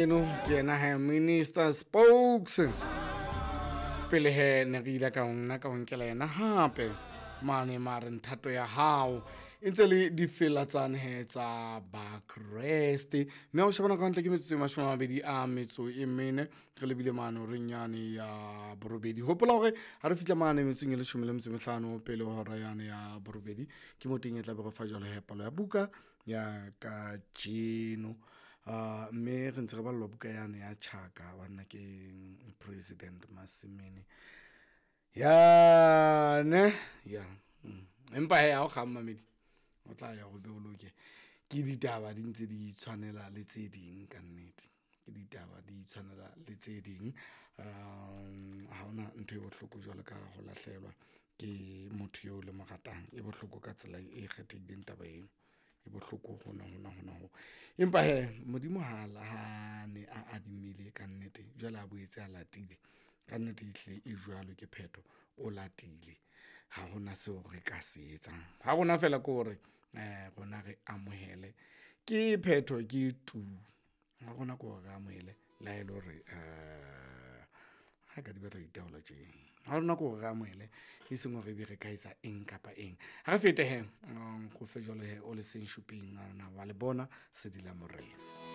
Eno ke yena he Minister Spokes. Pele he ne re ile ka nna ka o nkela yena hape mane mare nthato ya hao e ntse le difela tsane he tsa Bakreste. Mme ha o shebana ka hantle ke metsotso e 24 re lebile mane horeng yane ya borobedi. Hopola hore ha re fihla mane metsotsong e 15 pele ho hora yane ya borobedi, ke mo teng e tla be re fa jwalo he palo ya buka ya kajeno. Mme re ntse re ballwa buka yane ya Tjhaka banna ke President Masimene. Ya ne ya empa hee ha o kgang mamedi, o tla ya o be o loke. Ke ditaba di ntse di tshwanela le tse ding kannete. Ke ditaba di tshwanela le tse ding. Ha hona ntho e bohloko jwalo ka ho lahlehelwa ke motho eo le mo ratang. E bohloko ka tsela e kgethehileng taba eno. E bohloko hona hona hona ho. Empa hee Modimo ha ha ne a adimile kannete, jwale a boetse a latile kannete ehlile e jwalo ke phetho, o latile. Ha hona seo re ka se etsang. Ha rona fela ke hore rona re amohele ke phetho ke tu. Ha rona ke hore re amohele le ha ele hore ha ka di batla ho itaola tje. Ha rona ke hore re amohele, e seng hore ebe re ka etsa eng kapa eng. Ha re fete he ko fe jwalo he o le seng shuping wa le bona sedi la morena.